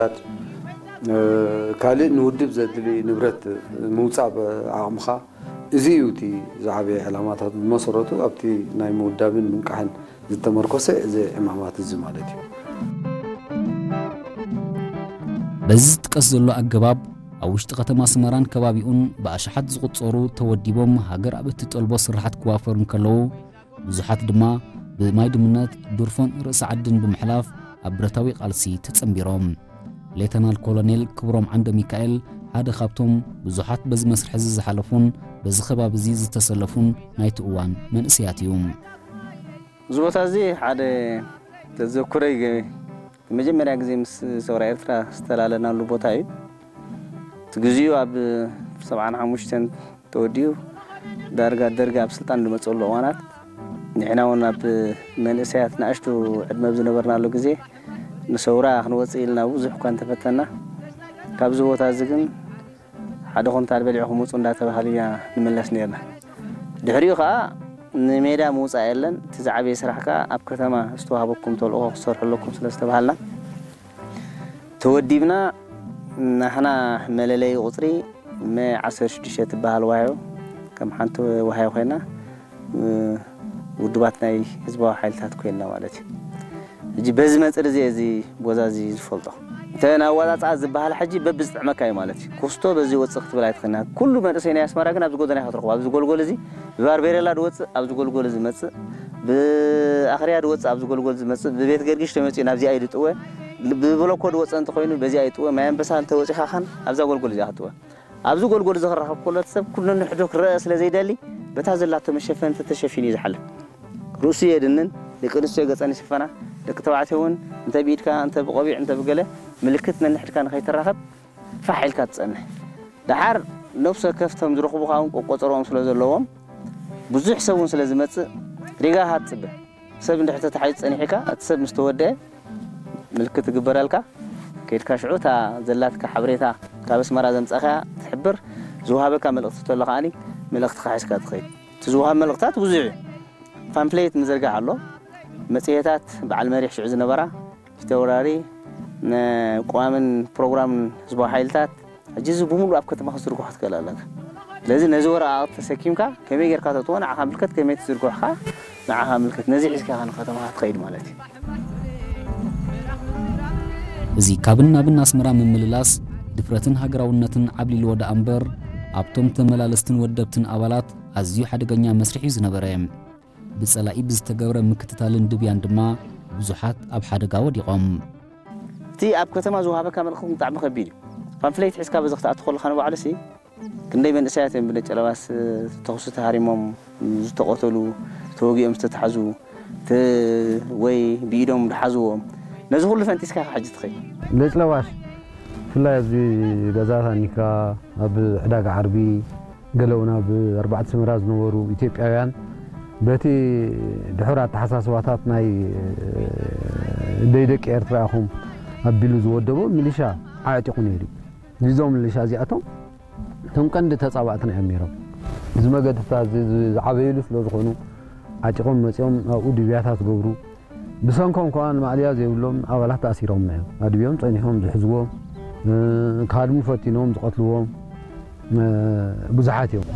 እ፣ ካልእ ንውድብ ዘድሊ ንብረት ምውጻእ ብዓቕምኻ፣ እዚ እዩ እቲ ዝዓበየ ዕላማታት። ብመሰረቱ ኣብቲ ናይ ምውዳብን ምንቃሕን ዝተመርኮሰ እዚ ዕማማት እዚ ማለት እዩ። በዚ ዝጥቀስ ዘሎ ኣገባብ ኣብ ውሽጢ ከተማ ኣስመራን ከባቢኡን ብኣሽሓት ዝቑጸሩ ተወዲቦም ሃገር ኣብ እትጠልቦ ስራሓት ክዋፈሩ እንከለዉ፣ ብዙሓት ድማ ብማይ ድምነት፣ ዱርፎን ርእሲ ዓድን ብምሕላፍ ኣብ ብረታዊ ቃልሲ ተጸንቢሮም። ሌተናል ኮሎኔል ክብሮም ዓንደ ሚካኤል ሓደ ካብቶም ብዙሓት በዚ መስርሕ እዚ ዝሓለፉን በዚ ከባቢ እዚ ዝተሰለፉን ናይቲ እዋን መንእሰያት እዩ። እዚ ቦታ እዚ ሓደ ተዘክሮይ ገ-፣ መጀመርያ ግዜ ምስ ሰውራ ኤርትራ ዝተላለናሉ ቦታ እዩ። እቲ ግዜኡ ኣብ ሰብዓን ሓሙሽተን ተወዲኡ ዳርጋ ደርጊ ኣብ ስልጣን ዝመፀሉ እዋናት ንሕና እውን ኣብ መንእሰያት ንኣሽቱ ዕድመ ኣብ ዝነበርናሉ ግዜ ንሰውራ ክንወፅእ ኢልና ብዙሕ እኳ እንተፈተና ካብዚ ቦታ እዚ ግን ሓደ ኩንታል በሊዕኹም ውፁ እንዳተባሃሉ ኢና ንመለስ ነርና። ድሕሪኡ ከዓ ንሜዳ ምውፃእ የለን፣ እቲ ዝዓበየ ስራሕ ከዓ ኣብ ከተማ ዝተዋህበኩም ተልእኾ ክትሰርሑ ኣለኩም ስለ ዝተባሃልና ተወዲብና። ናህና መለለይ ቁፅሪ መ ዓሰርተ ሽዱሽተ ትበሃል ዋህዮ ከም ሓንቲ ዋህዮ ኮይና ውድባት ናይ ህዝባዊ ሓይልታት ኮይንና ማለት እዩ። ሕጂ በዚ መፅር እዚ እዚ ቦታ እዚ ዝፈልጦ እንተ ናዋፃፅኣ ዝበሃል ሕጂ በብዝጥዕመካ እዩ ማለት እዩ። ኮስቶ በዚ ወፅእ ክትብል ኣይትኽእልና። ኩሉ መንእሰይ ናይ ኣስመራ ግን ኣብዚ ጎደና ኢኻ ትረኽቦ። ኣብዚ ጎልጎል እዚ ብባርቤሬላ ድወፅእ፣ ኣብዚ ጎልጎል እዚ መፅእ፣ ብኣኽርያ ድወፅእ፣ ኣብዚ ጎልጎል ዝመፅእ፣ ብቤት ገርጊሽ ተመፂኡ ናብዚኣ እዩ ድጥወ፣ ብብሎኮ ድወፅእ እንተኾይኑ በዚኣ ይጥወ፣ ማይ ኣንበሳ እንተወፂኻ ኻን ኣብዛ ጎልጎል እዚኣ ክትጥወ። ኣብዚ ጎልጎል እዚ ክራኸብ ከሎ እቲ ሰብ ኩሉ ንሕዱ ክረአ ስለ ዘይደሊ በታ ዘላቶ መሸፈኒ ተተሸፊኑ እዩ ዝሓልፍ። ርእሱ የድንን፣ ደቂ ኣንስትዮ ገፀን ይሽፈና፣ ደቂ ተባዕትዮ እውን እንተ ብኢድካ እንተ ብቆቢዕ እንተ ብገለ ምልክት ነንሕድካ ንኸይትራኸብ ፋሕ ኢልካ ትፀንሕ። ደሓር ነብሲ ወከፍ እቶም ዝረኽቡኻ እውን ቆቆፀሮኦም ስለ ዘለዎም ብዙሕ ሰብ እውን ስለ ዝመፅእ ሪጋ ኢኻ ትፅበ። ሰብ እንድሕር ተታሒዙ ጸኒሕካ እቲ ሰብ ምስ ተወደአ ምልክት ትግበረልካ። ከይድካ ሽዑ እታ ዘላትካ ሓበሬታ ካብ ኣስመራ ዘምጻእካያ ትሕብር። ዝወሃበካ መልእኽቲ ተሎ ከዓኒ መልእኽትኻ ሒዝካ ትኸይድ። እቲ ዝወሃብ መልእኽታት ብዙሕ እዩ። ፓምፍሌት ምዝርጋሕ ኣሎ። መጽሔታት በዓል መሪሕ ሽዑ ዝነበራ ፊተውራሪ ንቋምን ፕሮግራምን ህዝባዊ ሓይልታት ሕጂ እዚ ብምሉእ ኣብ ከተማ ክትዝርግሖ ትኽእል ኣለካ። ስለዚ ነዚ ወረቓቕቲ ተሰኪምካ ከመይ ጌርካ ተእትዎ ንዓኻ ምልከት፣ ከመይ ትዝርግሖ ኸኣ ንዓኻ ምልከት። ነዚ ሒዝካ ኢኻ ንከተማኻ ትኸይድ ማለት እዩ። እዚ ካብን ናብን ኣስመራ ምምልላስ ድፍረትን ሃገራውነትን ዓብሊልዎ ደኣ እምበር ኣብቶም ተመላለስትን ወደብትን ኣባላት ኣዝዩ ሓደገኛ መስርሕ እዩ ዝነበረ። ብጸላኢ ብዝተገብረ ምክትታልን ድብያን ድማ ብዙሓት ኣብ ሓደጋ ወዲቖም። እቲ ኣብ ከተማ ዝወሃበካ መልእኽቲ ብጣዕሚ ከቢድ እዩ። ፓምፍሌት ሒዝካ በዚ ክትኣቱ ከለኻ ንባዕሉሲ ክንደይ መንእሰያት እዮም ብነጨለባስ ተኹሲ ተሃሪሞም ዝተቐተሉ፣ ተወጊኦም ዝተታሕዙ፣ ተ-፣ ወይ ብኢዶም ዝሓዝዎም። ነዚ ኩሉ ፈንጢስካ ኢኻ ሕጂ ትኸይድ። ነጭለባሽ ብፍላይ ኣብዚ ገዛ ታኒካ፣ ኣብ ዕዳጋ ዓርቢ፣ ገለ እውን ኣብ ኣርባዕተ ሰመራ ዝነበሩ ኢትዮጵያውያን በቲ ድሑር ኣተሓሳስባታት ናይ ደይ ደቂ ኤርትራ ኢኹም ኣቢሉ ዝወደቦ ሚሊሻ ዓዕጢቑ ነይሩ እዩ። እዞም ሚሊሻ እዚኣቶም እቶም ቀንዲ ተጻባእትና እዮም ነይሮም። እዚ መገድታት እዚ ዝዓበይሉ ስለ ዝኾኑ ዓጢቖም መጺኦም ኣብኡ ድብያታት ገብሩ። ብሰንኮም ከኣ ንማእለያ ዘይብሎም ኣባላት ተኣሲሮምና እዮም። ኣድብዮም ጸኒሖም ዝሕዝዎም፣ እ፣ ክሃድሙ ፈቲኖም ዝቐትልዎም፣ እ፣ ብዙሓት እዮም።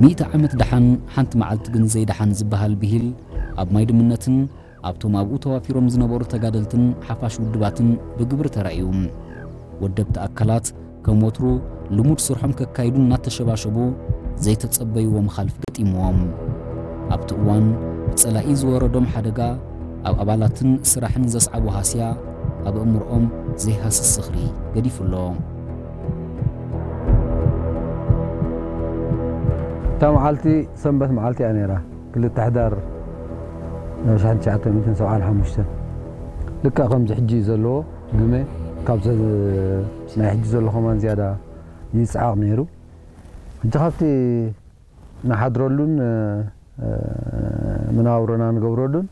ሚእቲ ዓመት ደሓን ሓንቲ መዓልቲ ግን ዘይደሓን ዝበሃል ብሂል ኣብ ማይ ድምነትን ኣብቶም ኣብኡ ተዋፊሮም ዝነበሩ ተጋደልትን ሓፋሽ ውድባትን ብግብሪ ተራእዩ። ወደብቲ ኣካላት ከም ወትሩ ልሙድ ስርሖም ከካይዱ እናተሸባሸቡ ዘይተጸበይዎ መኻልፍ ገጢምዎም። ኣብቲ እዋን ብጸላኢ ዝወረዶም ሓደጋ ኣብ ኣባላትን ስራሕን ዘስዓቦ ሃስያ ኣብ ኣእምሮኦም ዘይሃስስ ዝኽሪ ገዲፉ ኣሎ። እታ መዓልቲ ሰንበት መዓልቲ እያ ነይራ። ክልተ ሕዳር ሽሕን ትሽዓተ ሚእትን ሰብዓን ሓሙሽተን። ልክዕ ከምዚ ሕጂ ዘለዎ ግመ ካብዚ ናይ ሕጂ ዘሎ ከማን ዝያዳ ይጽዓቕ ነይሩ። ሕጂ ካብቲ ንሓድረሉን፣ እ፣ መናብሮና ንገብረሉን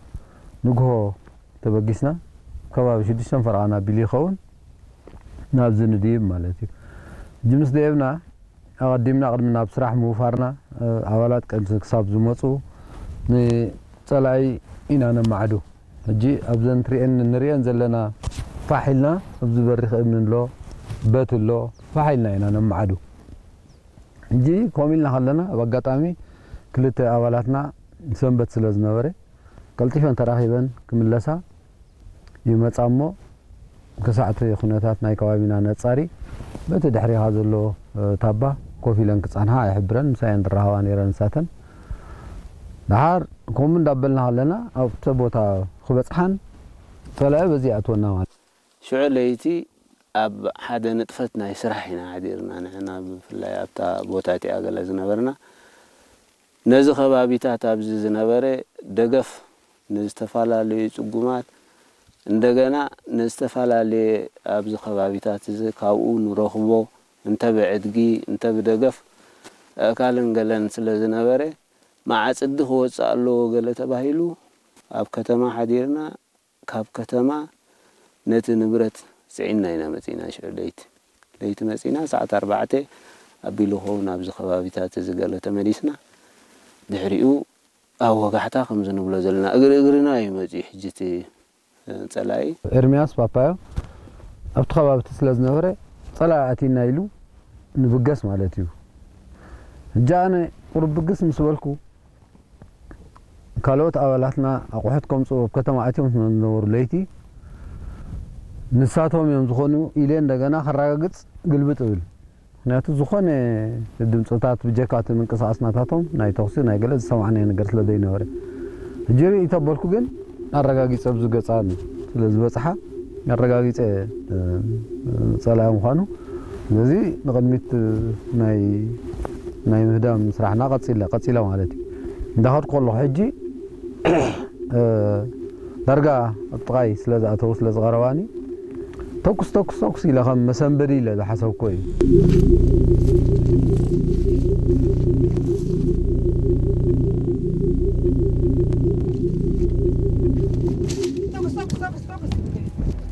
ንግሆ ተበጊስና ከባቢ ሽዱሽተን ፈረቓን ኣቢሉ ይኸውን ናብዚ ንድይብ ማለት እዩ። ሕጂ ምስ ደየብና ኣቐዲምና ቅድሚ ናብ ስራሕ ምውፋርና፣ እ፣ ኣባላት ቅድሚ ክሳብ ዝመፁ ንፀላኢ ኢና ነማዕዱ። ሕጂ ኣብዘን ትሪኤን ንሪኤን ዘለና ፋሕ ኢልና፣ ኣብዚ በሪኽ እምኒ ኣሎ፣ በት ኣሎ፣ ፋሕ ኢልና ኢና ነማዕዱ። ሕጂ ከምኡ ኢልና ከለና፣ ኣብ ኣጋጣሚ ክልተ ኣባላትና ሰንበት ስለ ዝነበረ፣ ቀልጢፈን ተራኺበን ክምለሳ ይመጻ እሞ፣ ክሳዕቲ ኩነታት ናይ ከባቢና ነጻሪ፣ በቲ ድሕሪኻ ዘሎ፣ እ፣ ታባ ኮፍ ኢለን ክጻንሓ ኣይሕብረን፣ ምሳየን ዝራኸባ ነይረን ንሳተን። ደሓር ከምኡ እንዳበልና ከለና፣ ኣብቲ ቦታ ክበጽሓን ጸላኢ በዚ ይኣትወና ማለት። ሽዑ ለይቲ ኣብ ሓደ ንጥፈት ናይ ስራሕ ኢና ሓዲርና፣ ንሕና ብፍላይ ኣብታ ቦታ እቲኣ ገለ ዝነበርና። ነዚ ከባቢታት ኣብዚ ዝነበረ ደገፍ ንዝተፈላለዩ ጽጉማት፣ እንደገና ንዝተፈላለየ ኣብዚ ከባቢታት እዚ ካብኡ ንረኽቦ፣ እንተ ብዕድጊ፣ እንተ ብደገፍ ኣእካልን ገለን ስለ ዝነበረ፣ መዓጽዲ ክወጽእ ኣለዎ ገለ ተባሂሉ፣ ኣብ ከተማ ሓዲርና፣ ካብ ከተማ ነቲ ንብረት ጽዒንና ኢና መጺና። ሽዑ ለይቲ፣ ለይቲ መጺና፣ ሰዓት ኣርባዕተ ኣቢሉ ክኸውን ኣብዚ ከባቢታት እዚ ገለ ተመሊስና። ድሕሪኡ ኣብ ወጋሕታ ከምዚ ንብሎ ዘለና፣ እግሪ እግርና እዩ መጺኡ። ሕጂ እቲ ጸላኢ ኤርምያስ ፓፓዮ ኣብቲ ከባቢ እቲ ስለ ዝነበረ፣ ጸላኢ ኣቲና ኢሉ ንብገስ ማለት እዩ። ሕጂ ኣነ ቁሩብ ብግስ ምስ በልኩ፣ ካልኦት ኣባላትና ኣቑሑት ከምጽኡ ኣብ ከተማ ኣትዮም ስለ ዝነበሩ ለይቲ፣ ንሳቶም እዮም ዝኾኑ ኢለ እንደገና ከረጋግጽ ግልብጥ እብል። ምኽንያቱ ዝኾነ ድምጽታት ብጀካ እቲ ምንቅስቓስ ናታቶም ናይ ተኹሲ ናይ ገለ ዝሰማዕናዮ ነገር ስለ ዘይነበረ። ሕጂ ርእይ ተበልኩ ግን ኣረጋጊጸ ኣብዚ ገጻ ስለ ዝበጽሓ ኣረጋጊጸ፣ እ፣ ጸላኢ ምዃኑ። ስለዚ ንቕድሚት ናይ፣ ናይ ምህዳም ስራሕና ቀጺለ፣ ቀጺለ ማለት እዩ። እንዳኸድኩ ከለኹ ሕጂ፣ እ፣ ዳርጋ ኣብ ጥቓይ ስለ ዝኣተዉ ስለ ዝቐረባኒ ተኩስ፣ ተኩስ፣ ተኩስ ኢለ ከም መሰንበዲ ኢለ ዝሓሰብኩ እዩ።